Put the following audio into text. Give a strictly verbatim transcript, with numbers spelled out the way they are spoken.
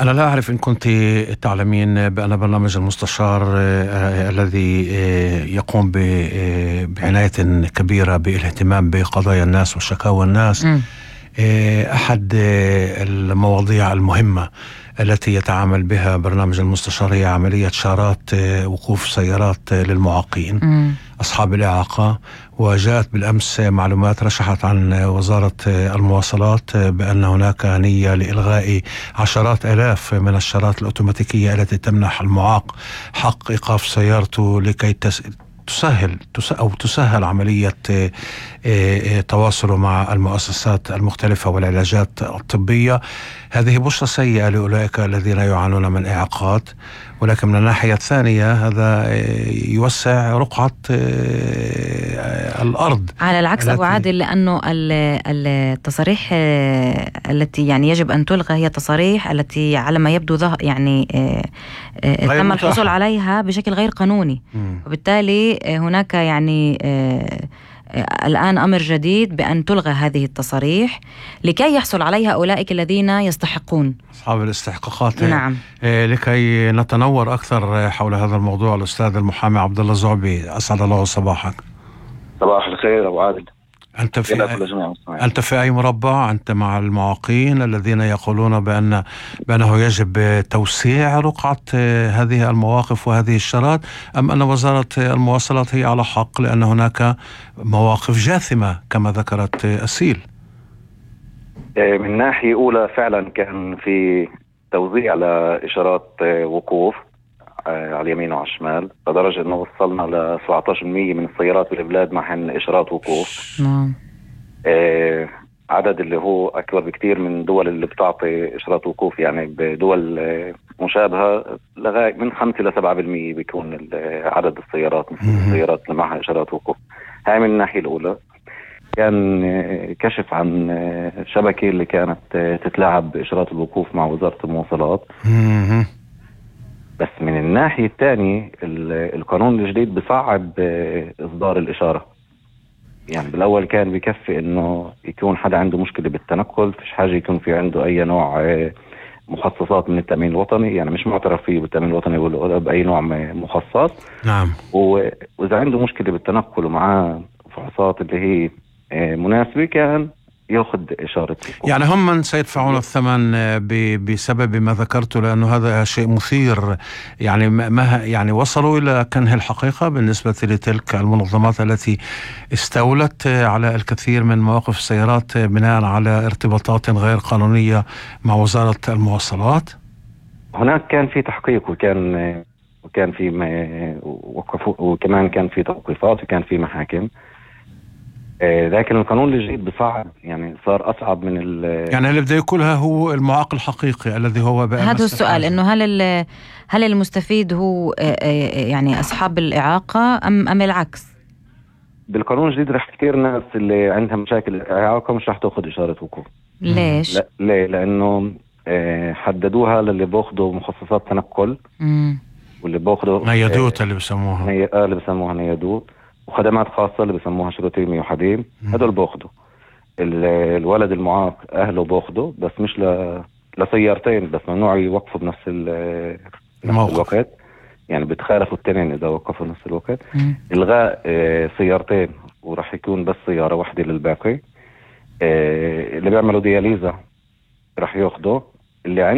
أنا لا أعرف إن كنت تعلمين بأن برنامج المستشار آه الذي آه يقوم بعناية كبيرة بالاهتمام بقضايا الناس وشكاوى الناس آه أحد آه المواضيع المهمة التي يتعامل بها برنامج المستشار هي عملية شارات آه وقوف سيارات آه للمعاقين م. أصحاب الإعاقة. وجاءت بالأمس معلومات رشحت عن وزارة المواصلات بأن هناك نية لإلغاء عشرات آلاف من الشارات الأوتوماتيكية التي تمنح المعاق حق إيقاف سيارته لكي تسهل أو تسهل عملية تواصله مع المؤسسات المختلفة والعلاجات الطبية. هذه بشرة سيئة لأولئك الذين يعانون من إعاقات، ولكن من الناحية الثانية هذا يوسع رقعة الأرض. على العكس أبو عادل، لأنه التصاريح التي يعني يجب أن تلغى هي تصاريح التي على ما يبدو يعني تم الحصول عليها بشكل غير قانوني، م. وبالتالي هناك يعني الآن أمر جديد بأن تلغى هذه التصاريح لكي يحصل عليها أولئك الذين يستحقون، أصحاب الاستحقاقات. نعم. لكي نتنور أكثر حول هذا الموضوع الأستاذ المحامي عبد الله الزعبي، أسعد الله صباحك. صباح الخير أبو عادل. أنت في أنت في أي مربع؟ أنت مع المعاقين الذين يقولون بأن بأنه يجب توسيع رقعة هذه المواقف وهذه الشارات، أم أن وزارة المواصلات هي على حق لأن هناك مواقف جاثمة كما ذكرت أسيل؟ من ناحية أولى فعلا كان في توزيع لإشارات وقوف على اليمين وعلى الشمال، لدرجة أنه وصلنا ل سبعة عشر بالمئة من السيارات بالبلاد معهن إشارات وقوف. نعم. آه عدد اللي هو أكبر بكتير من دول اللي بتعطي إشارات وقوف، يعني بدول مشابهة لغاية من خمسة إلى سبعة بالمئة بيكون عدد السيارات السيارات اللي معها إشارات وقوف. هاي من الناحية الأولى. كان كشف عن شبكة اللي كانت تتلاعب بإشارات الوقوف مع وزارة المواصلات. بس من الناحية الثانية القانون الجديد بصعب إصدار الإشارة. يعني بالأول كان بيكفي إنه يكون حدا عنده مشكلة بالتنقل، فيش حاجة يكون في عنده أي نوع مخصصات من التأمين الوطني، يعني مش معترف فيه بالتأمين الوطني ولا بأي نوع مخصص. نعم. وإذا عنده مشكلة بالتنقل ومعاه فحوصات اللي هي مناسبة كان يأخذ إشارة. يعني هم من سيدفعون الثمن بسبب ما ذكرته، لأنه هذا شيء مثير. يعني ما يعني وصلوا إلى كنه الحقيقة بالنسبة لتلك المنظمات التي استولت على الكثير من مواقف السيارات بناء على ارتباطات غير قانونية مع وزارة المواصلات. هناك كان في تحقيق وكان وكان في وقفوا، وكمان كان في توقيفات وكان في محاكم. لكن القانون الجديد بصعب، يعني صار أصعب من ال يعني اللي بده يقولها هو المعاق الحقيقي الذي هو بقى. هذا السؤال، إنه هل هل المستفيد هو يعني أصحاب الإعاقة أم أم العكس؟ بالقانون الجديد رح كثير ناس اللي عندها مشاكل إعاقة مش رح تأخذ إشارة وقوف. ليش؟ لا ليه؟ لأنه حددوها للي بأخذوا مخصصات تنقل، مم. واللي بأخذوا نيادوت اللي بسموها ني... آه اللي بسموها نيادوت، وخدمات خاصة اللي بسموها شروطيمي وحديم. هدول باخدوا. الولد المعاق أهله باخدوا، بس مش ل... لسيارتين بس، ممنوع يوقفوا بنفس, ال... نفس الوقت، يعني بتخالفوا التنين إذا وقفوا نفس الوقت. إلغاء آه سيارتين وراح يكون بس سيارة واحدة للباقي. آه اللي بيعملوا دياليزا راح ياخدوا، اللي عنده